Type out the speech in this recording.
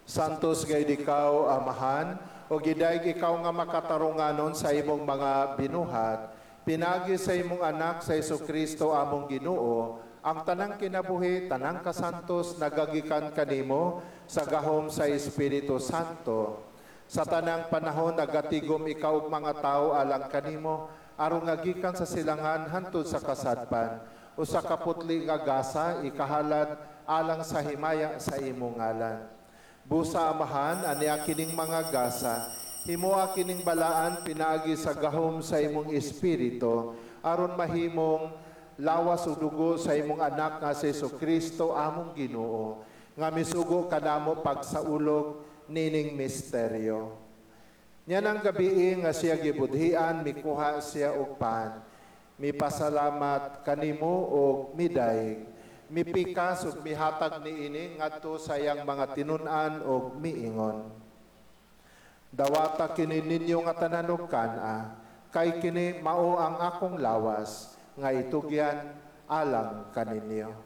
Santos gayud ikaw, Amahan, ug gidayeg ikaw nga makatarunganon sa imong mga binuhat, pinaagi sa imong anak sa Kristo among Ginoo, ang tanang kinabuhi, tanang kasantos nagagikan kanimo sa gahom sa Espiritu Santo. Sa tanang panahon nagatigom ikaw ug mga tawo alang kanimo, aron nga gikan sa silangan hantod sa kasadpan, usa ka putli nga gasa ikahalad alang sa himaya sa imong ngalan. Busa, Amahan, ania kining mga gasa, himoa kining balaan pinaagi sa gahom sa imong Espiritu, aron mahimong lawas ug dugo sa imong anak nga si Kristo among Ginoo, nga misugo kanamo pagsaulog nining misteryo. Niyanang gabii nga siya gibudhian, mikuha siya og pan. Mipasalamat kanimo og midayeg. Mipikas ug mihatag niini ngadto sa iyang mga tinun-an og miingon: "Dawata kini ninyo nga tanan og kan-a, kay kini mao ang akong lawas nga itugyan alang kaninyo."